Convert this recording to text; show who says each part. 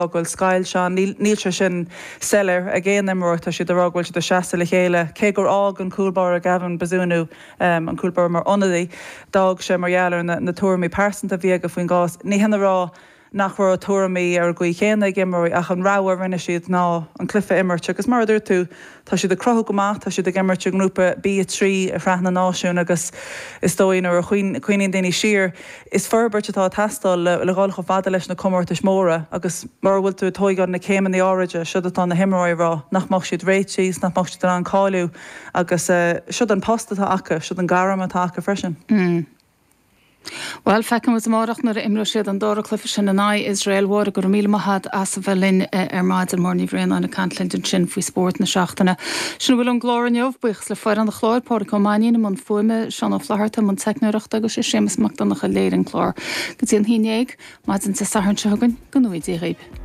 Speaker 1: Go bhfuil scoilt ann. Níl sé sin soiléir ag aon imreoir. Tá siad ag rá go bhfuil siad ag seasamh le chéile. Cé gur fhág an cúl báire Gavin Bazunu, an cúl báire mar ionadaí, d'fhág sé mar gheall ar na tuairimí pearsanta a bhí aige faoin gcás. Ní hin a rá nach raibh tuairimí ar an gcaoi chéanna ag imreoirí ach an rogha a rinne siad ná an cluiche a imirt agus mar a dúirt tú, Tá siad ag cruthú go maith, tá siad ag imirt i nGrúpa B3 i Sraith na Náisiún agus is dóigh nuair a chuimhníonn daoine siar, is forbairt atá ag teastáil le dhul chomh fada leis na comórtais mhóra agus mura bhfuil tú ag tóigeáil na céimeanna áiride, siod atá na himreoirí ag rá, nach mbeadh siad réitithe is nach mbeadh siad in ann cáiliú agus siod an post atá acu, siod an gairm atá acu freisin.
Speaker 2: Bhuel, feicfidh muid amárach nuair a imreoidh siad an dara cluiche sin in aghaidh Iosrael. Mháire, go raibh míle maith agat as a bheith linn ar maidin. Máire Ní Bhraonáin ag caint linn ansin faoi spórt na seachtaine. Sin a bhfuil ón gclár inniu. Buíochas le foireann an chláir, Pádraic Ó Mainnín i mbun fuaime, Seán Ó Flatharta i mbun teicneoireachta agus Séamus Mac Donncha a léirigh an clár. Go dtí an haon dhéag, maidin Dé Sathairn seo chugainn, go ngnóthaí Dia dhaoibh.